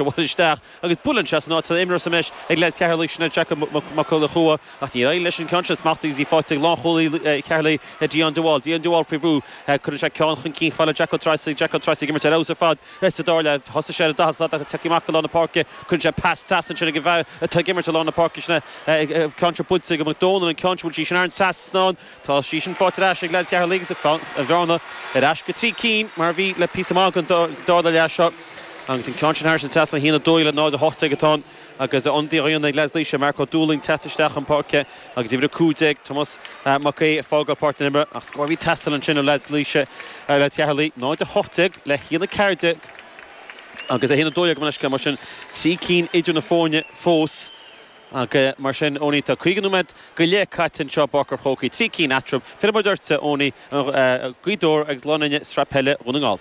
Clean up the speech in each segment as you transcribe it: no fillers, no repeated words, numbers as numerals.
Abhaile isteach agus buaileann sé san áit atá imreoir sa mbreis ag leaids Cheatharlaigh, sin é Jack Mac Conchúir ach níor éirigh leis an ceann sin a smachtú agus í faighte ag lánchúlaí Cheatharlaigh, Dion de Wall. Dion de Wall faoi bhrú. Cuireann sé ceann chun cinn chomh fada le Jack Ó Treasaigh. Jack Ó Treasaigh ag imirt ar fheabhas ar fad sa dara leath. Thosaigh sé ar an daichead slat ach tagtha amach go lár na páirce. Cuireann sé pas deas ansin ag an bhfear atá ag imirt i lár na páirce. Sin é ceann seo buailte ag Mac Dónaill, an ceann seo bhfuil sí sin thar an trasnán. Tá sí sin faighte ar ais ag leaids Cheatharlaigh agus an bhearna ar ais go 3 cinn mar a bhí le píosa maith den dara leath seo agus an ceann sin thar an trasnán 1-2 le 0-18 atá ann agus ionadaí á dhéanamh ag leaids Laoise, Mark Ó Dúlaing teacht isteach chun páirce agus uimhir 15, Tomás Mac Aoidh ag fágáil páirc na himeartha ach scór a bhí ag teastáil ansin ó leaids Laoise, leaids Cheatharlaigh, 0-18 le 1-14 agus 1-12 mar leithscéal mar sin 3 cinn idir na foirne fós. Ach mar sin, Owenie, tá 50 nóiméad go leith caite anseo i bPáirc an Chrócaigh, 3 cinn eatarthu. Fillfidh muid ortsa, Owenie, Gaoth Dobhair agus Gleann Fhinne, Sraith Peile Dhún na nGall.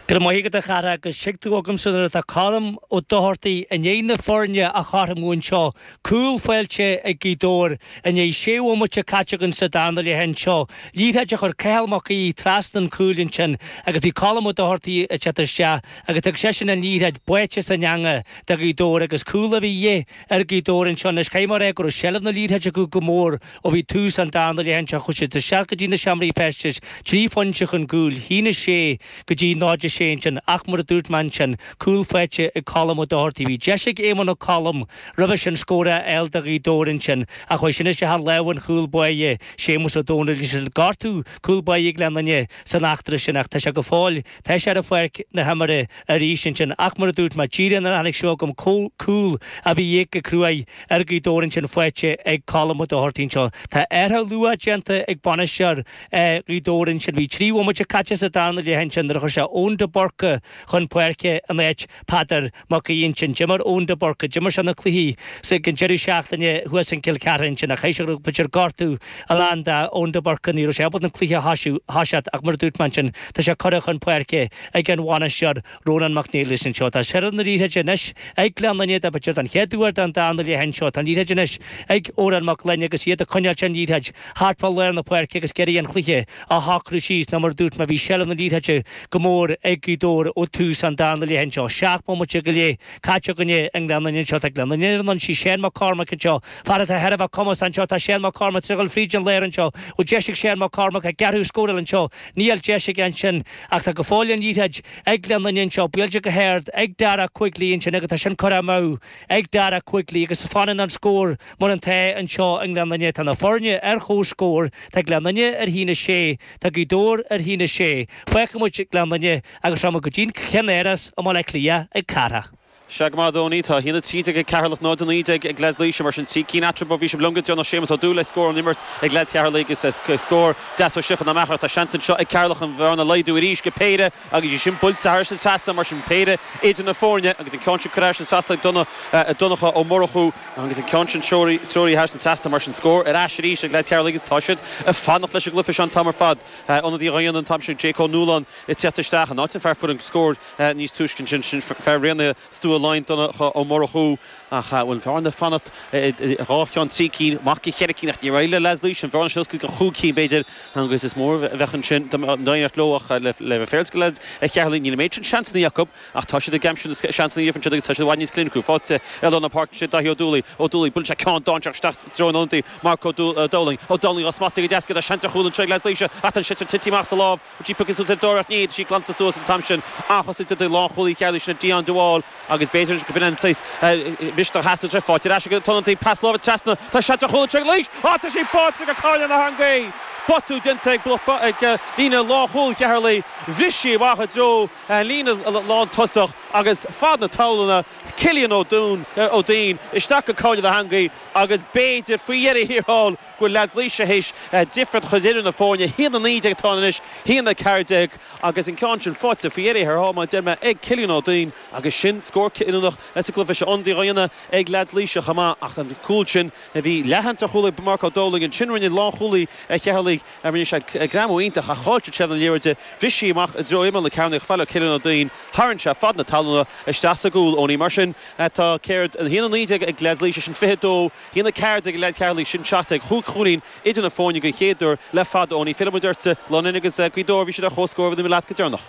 Go raibh maith agat a chara agus tuig tú agamsa nuair atá Colm Ó Dochartaigh i ndiaidh na foirne a chothromú anseo, cúl faighte ag Gaoth Dobhair i ndiaidh sé bhomaite caite againn sa darna leath anseo. Liathróid a chuir Cathal Mac Aoidh trasna an chúil ansin agus bhí Colm Ó Dochartaigh ag teacht isteach agus thug seisean an liathróid báite san eangach do Ghaoth Dobhair agus cúl a bhí de dhíth ar Ghaoth Dobhair anseo anois. Caithfidh mé a rá go raibh seilbh na liathróide acu go mór ó bhí tús an darna leath anseo. Chuaigh siad isteach go dtí na seomraí feistis, 3 phointe chun cúil, 1-6 go dtí 0-6 ansin ach mar a dúirt mé ansin, cúl faighte ag Colm Ó Dochartaigh. Bhí deis ag Éamonn Ó Colm roimhe sin scór a fháil do Ghaoth Dobhair ansin ach chuaigh sin isteach i lámha an chúl báire, Séamus Ó Domhnaill. Ansin gortú cúl báire Ghleann Fhinne san eachtra sin ach tá sé go fóill, tá sé ar pháirc na himeartha arís ansin ach mar a dúirt mé, díreach nuair a tháinig seo chugam cúl a bhí de dhíth go cruaidh ar Ghaoth Dobhair ansin faighte ag Colm Ó Dochartaigh anseo. Tá athrú luath déanta ag bainisteoir Ghaoth Dobhair ansin. Bhí 3 bhomaite caite sa darna leath ansin nuair a chuir sé Eoin de Búrca chun páirce in áit Peadar Mac Aoidh ansin. D'imir Eoin de Búrca, d'imir sé na cluichí ag an deireadh seachtaine thuas in Cill Chartha ansin ach chaithfidh sé go raibh b'fhéidir gortú i ndán d'Eoin de Búrca. Ní raibh sé ábalta an cluiche a thoiseacht ach mar a dúirt mé ansin tá sé curtha chun páirce ag an bhainisteoir Rónán Mac Niallais anseo. Tá seilbh na liathróide anois ag Gleann Fhinne, b'fhéidir don chéad uair den darna leath anseo. Tá an liathróid anois ag Odhrán Mac Gloinn agus iad ag coinneáilt an liathróid thart fá lár na páirce agus ag iarraidh an chluiche a shocrú síos nó mar a dúirt mé bhí seilbh na liathróide go mór ag Gaoth Dobhair ó tús an darna leath anseo. 7 mbomaite go leith caite againne i nGleann Fhinne anseo. Tá Gleann Fhinne ar an ionsaí. Shane Mac Cormaic anseo. Fear atá thar a bheith cumasach anseo. Tá Shane Mac Cormaic tar éis dul fríd an lár anseo. Bhfuil deis ag Shane Mac Cormaic ag gearradh scóráil anseo? Níl deis aige ansin ach tá go fóill an liathróid ag Gleann Fhinne anseo, buailte go hard ag Dara Quigley ansin agus tá sin curtha amú ag Dara Quigley agus fanann an scór mar atá anseo i nGleann Fhinne. Tá na foirne ar chomhscór, tá Gleann Fhinne ar 1-6, tá Gaoth Dobhair ar 1-6. Fágfaidh muid Gleann Fhinne agus rachaidh muid go dtí'n Cheannáras i mBaile Átha Cliath ag Cárthach. Sea go maith, a Owenie. Tá 1-13 ag Ceatharlach, 0-19 ag leaids Laoise. Mar sin, 3 cinn eatarthu. Bhí sibh liom go deireanach. Séamus Ó Dúill ag scór ón imirt ag leaids Cheatharlaigh agus scór deas ó Stiofán Ó Meachair. Tá seans anseo ag Ceatharlach an bhearna a laghdú arís go péire agus í sin buailte thairis an trasnán. Mar sin, péire idir na foirne agus an ceann sin curtha thairis an trasnán ag Donncha Ó Murchú agus an ceann sin treoraithe thairis an trasnán. Mar sin, scór ar ais arís ag leaids Cheatharlaigh agus tá siad ag fanacht leis an gcluiche seo an t-am ar fad. Ionadaí á dhéanamh an t-am sin, Jake Ó Nualláin ag teacht isteach in áit an fear a fuair an scór. Níos túisce ansin, sin fear Raonaithe Stua Laighean, Donncha Ó Murchú, ach bhfuil an bhearna ag fanacht dhá cheann, trí cinn, amach go cheithre cinn, ach níor éirigh le leaids Laoise an bhearna sin a oscailt go chúig cinn, b'fhéidir, agus is mór a bheadh ansin dá n-éireodh leo ach le bheith féaráilte do leaids Cheatharlaigh, níl an méid sin seansanna acu ach tá siad ag aimsiú na seansanna a fhaigheann siad agus tá siad i bhfad níos cliniciúla. Faighte i lár na páirce ansin Daithí Ó Dúlaigh, Ó Dúlaigh, buaileann sé ceann dainséarach isteach i dtreo an ionadaí, Marc Ó Dowling, Ó Dowling á smachtú go deas aige, tá seans ar chúl anseo ag leaids Laoise ach tá an sliotar tite amach as a lámh. Bhfuil sí pioctha suas ar dóigh ach ní, tá sí glanta suas an t-am sin. Athchosaint idir lánchúlaí Cheatharlaigh sin Dion de Wall agus b'fhéidir go b'in an saghas misneach a theastaigh uaidh. Faighte ar ais ag an t-ionadaí, pas láimhe trasna, tá seans ar chúl anseo ag Laois! Á tá sí báite go cáineadh na heangaí! Botún déanta ag ag líne lánchúil Cheatharlaigh. Bhris sí amach i dtreo líne lántosach agus fad na talúna, Cillian Ó Dún, Ó Duinn isteach go cáineadh na heangaí agus b'fhéidir faoi dheireadh thiar thall go bhfuil leaids Laoise théis difríocht a chur idir na foirne, 1-19 atá ann anois, 1-14 agus an ceann sin faighte faoi dheireadh thiar thall, mar a deir mé, ag Cillian Ó Duinn agus sin scór cinniúnach sa gcluiche seo. Ionadaí á dhéanamh ag leaids Laoise chomh maith ach an cúl sin a bhí leathsheans ar chúl ag Marc Ó Dowling, ansin rinne lánchúlaí Cheatharlaigh, rinne sé greamú iontach ach chaill siad seilbh na liathróide, bhris sí amach i dtreo imeall na cearnóige chomh fada le Cillian Ó Duinn, tharraing sé fad na talúna isteach sa gcúl. Owenie, mar sin tá céard, 1-19 ag leaids Laoise, sin 22. 1-14 ag leaids Cheatharlaigh, sin 17. Chúig chúilín idir na foirne den chéad uair le fada. Owenie, fillfidh muid ort, Gleann Fhinne agus Gaoth Dobhair, bhí siad ar chomhscór, bhí leat go deireanach.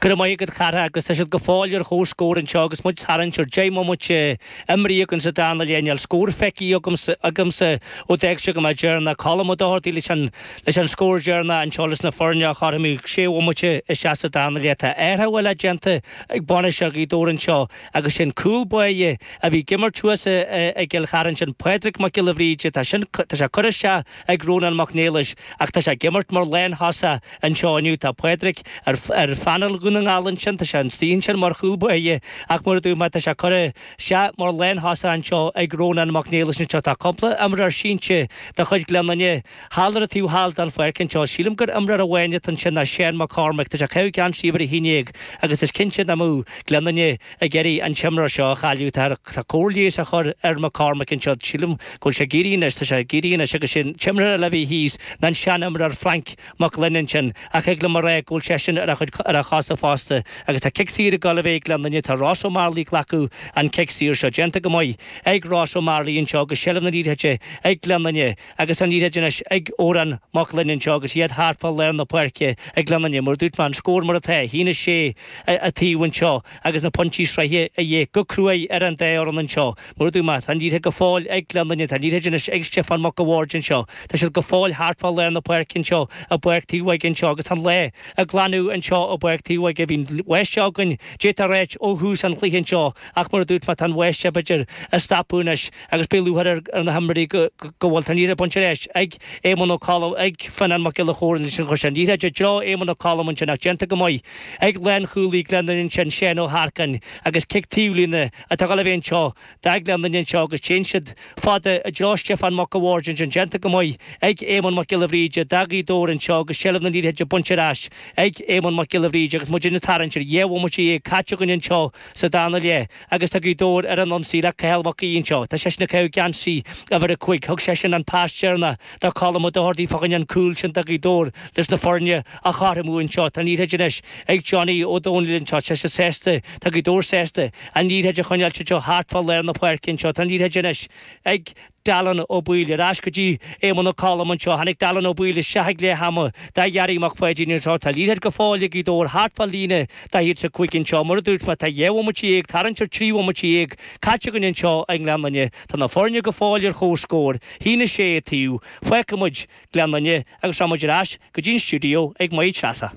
Go raibh maith agat a Chárthaigh agus tá siad go fóill ar chomhscór anseo agus muid tarraingt ar 10 mbomaite imrithe againn sa darna leath. Níl scór feicthe agamsa agamsa ó d'fhág sibh go mbeadh deireanach Colm Ó Dochartaigh leis an leis an scór deireanach anseo leis na foirne a chothromú sé bhomaite isteach sa darna leath. Tá athrú eile déanta ag bainisteoir Ghaoth Dobhair anseo agus sin cúl báire a bhí ag imirt thuas i gCill Chartha sin Pádraig Mac Giolla Bhríde tá sin tá sé curtha isteach ag Rónán Mac Niallais ach tá sé ag imirt mar lánthosach Anseo inniu tá Pádraig ar phainéal Dhún na nGall ansin, tá sé istigh ansin mar chúl báire ach mar a dúirt mé tá sé curtha isteach mar lánthosach anseo ag Rónán Mac Niallais anseo. Tá cúpla imreoir sínte de chuid Ghleann Fhinne thall ar an taobh thall den pháirc anseo. Sílim gur imreoir amháin atá ansin ná Seán Mac Cormaic. Tá sé ag caitheamh geansaí uimhir 11 agus is cinnte nach mbeadh Gleann Fhinne ag iarraidh an t-imreoir seo a chailleadh. Tá cóir leighis á chur ar McCormack anseo. Sílim go bhfuil sé ag éirí anois. Tá sé ag éirí anois agus sin an t-imreoir eile a bhí thíos ná an sean-imreoir Frank Mac Gloinn ansin ach thig liom a rá go bhfuil seisean ar a chuid ar a chosa fosta agus tá cic saor ag dul a bheith ag Gleann Fhinne. Tá Ross Ó Mearlaí ag glacadh an cic saor seo. Déanta go maith ag Ross Ó Mearlaí anseo agus seilbh na liathróide ag Gleann Fhinne agus an liathróid anois ag Odhrán Mac Gloinn anseo agus iad thart fá lár na páirce ag Gleann Fhinne. Mar a dúirt mé, an scór mar atá, 1-6 an taobh anseo agus na pointí sraithe a dhíth go cruaidh ar an dá fhoireann anseo. Mar a dúirt mé, tá an liathróid go fóill ag Gleann Fhinne, tá an liathróid anois ag Stiofán Mac a' Bhaird anseo. Tá siad go fóill thart fá lár na páirce anseo i bPáirc Taobh Óige anseo agus tá an lá ag glanadh anseo i bPáirc Taobh Óige. Bhí an bháisteach againn, d'fhéadfá a ráit, ó thús an chluiche anseo ach mar a dúirt mé, tá an bháisteach b'fhéidir ag stopadh anois agus beidh lúcháir ar na himreoirí go bhfuil. Tá an liathróid bainte ar ais ag Éamonn Ó Colm, ag Fionnán Mac Giolla Chóill ansin. Chuir sé an liathróid i dtreo Éamonn Ó Colm ansin ach déanta go maith ag lánchúlaí Gleann Fhinne ansin, Seán Ó hEarcáin agus cic taobhlíne atá ag dul a bheith anseo do Ghleann Fhinne anseo agus téann siad fada i dtreo Stiofán Mac a' Bhaird ansin, déanta go maith ag Éamonn Mac Giolla Bhríde do Ghaoth Dobhair anseo agus seilbh na liathróide bainte ar ais ag Éamonn Mac Giolla Bhríde agus muid ag tarraingt ar 12 bhomaite caite againn anseo sa darna leath agus tá Gaoth Dobhair ar an ionsaí le Cathal Mac Aoidh anseo. Tá seisean ag caitheamh geansaí uimhir 5. Thug seisean an pas deireanach do Colm Ó Dochartaigh fá choinne an cúl sin do Ghaoth Dobhair leis na foirne a chothromú anseo. Tá an liathróid anois ag Johnny Ó Domhnaill anseo. Tá sé sásta, tá Gaoth Dobhair sásta an liathróid a choinneáil anseo thart fá lár na páirce anseo. Tá an liathróid anois ag Dallin Ó Baoill. Ar ais go dtí Éamonn Ó Colm anseo. Tháinig Dallin Ó Baoill isteach ag leath ama do Ghearaí Mac Pháidín anseo. Tá liathróid go fóill ag Gaoth Dobhair thart fá líne 45 anseo. Mar a dúirt mé, tá 12 bhomaite, tarraingt ar 13 bhomaite caite againn anseo i nGleann Fhinne. Tá na foirne go fóill ar chomhscór, 1-6 an taobh. Fágfaidh muid Gleann Fhinne agus rachaidh muid ar ais go dtí an stiúideo ag Máire Treasa.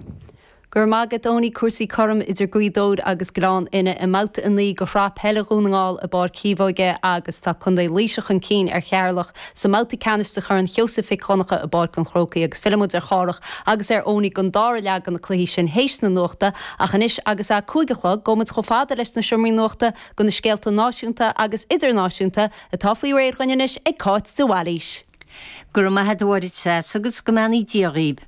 Go raibh maith agat Owenie. Cúrsaí cothrom idir Gaoth Dobhair agus Gleann Fhinne i mbabhta 9 de Shraith Peile Dhún na nGall i bPáirc Chíobhóige agus tá Contae Laoise chun cinn ar Cheatharlach sa mbabhta ceannais de Chorn Sheosaimh Mhic Dhonncha i bPáirc an Chrócaigh agus fillfidh muid ar Chárthach agus ar Owenie don dara leath de na cluichí sin théis na nuachta ach anois agus a 5 a chlog gabhfaidh muid chomh fada leis na seomraí nuachta do na scéalta náisiúnta agus idirnáisiúnta atá faoi réir dhuinn anois ag Cáit de Bhailís. Go raibh maith agat a Mháire Treasa agus go mbeannaí Dia dhaoib.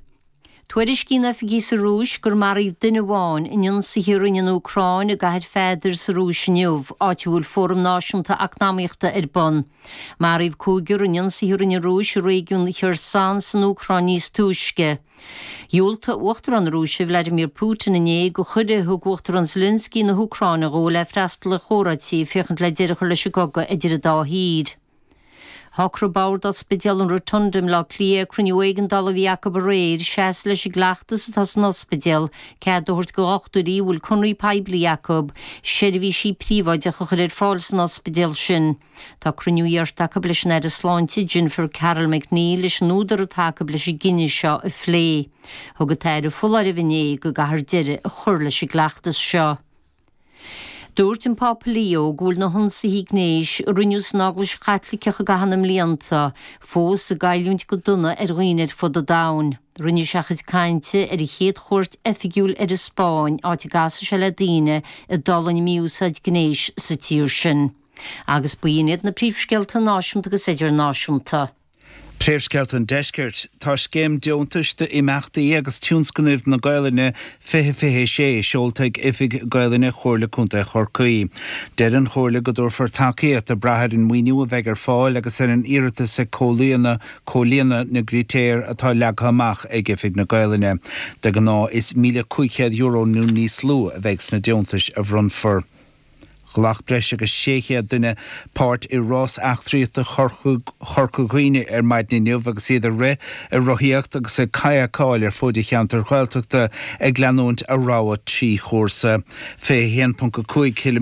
Tuairiscíonn oifigigh sa Rúis gur maraíodh duine amháin in ionsaithe a rinne an Úcráin i gcathair Pheadair sa Rúis inniu, áit a bhfuil Fóram Náisiúnta Eacnamaíochta ar bun. Maraíodh cúigear in ionsaithe a rinne an Rúis i réigiún Kherson san Úcráin níos túisce. Dhiúltaigh Uachtarán na Rúise Vladimir Putin inné do chuireadh a thug Uachtarán Zelensky na hÚcráine dhó le freastal ar chomhráití ag féachaint le deireadh a chur leis an gcogadh idir an dá thír. Shocraigh Bord Ospidéal an Rotunda i mBleá Cliath ag cruinniú éigeandála a bhí acu aréir, seasamh leis an gcleachtas atá san ospidéal, cead a thabhairt do dhochtúirí a bhfuil conraí poiblí acu, seirbhísí príobháideacha a chur ar fáil san ospidéal sin. Tá cruinniú iarrta acu leis an Aire Sláinte, Jennifer Carroll MacNeill leis an údar atá acu leis an gcinneadh seo a phlé. Thug an tAire foláireamh inné go gcaithfear deireadh a chur leis an gcleachtas seo. Dúirt an Pápa Leo go bhfuil na hionsaithe gnéis a rinneadh san Eaglais Chaitliceach i gcaitheamh na mblianta fós ag goilliúint go dona ar dhaoine ar fud an domhain. Rinne sé a chuid cainte ar a chéad chuairt oifigiúil ar an Spáinn, áit a gcasfaidh sé le daoine a d'fhulaing mí-úsáid gnéis sa tír sin. Agus b'in iad na príomhscéalta náisiúnta agus idirnáisiúnta. Príomhscéalta an Deiscirt. Tá scéim deontais d'imeachtaí agus tionscnaimh na Gaolainne 2026 seolta ag Oifig Gaolainne Chomhairle Contae Chorcaí. Deir an Chomhairle go dtabharfar tacaíocht ag brath ar an maoiniú a bheidh ar fáil agus ar an iarratas ag comhlíonadh comhlíonadh na gcritéar atá leagtha amach ag Oifig na Gaolainne. De ghnáth is €1,500 nó níos lú a bheidh sna deontais a bhronnfar. Ghlac breis agus 600 duine páirt i Rás Eachtraíochta Chorca Dhuibhne ar maidin inniu agus iad ag rith, ag rothaíocht agus ag cadhcáil ar fuaid an cheantair Ghaeltachta ag leanúint a rogha 3 chúrsa 21.5 km.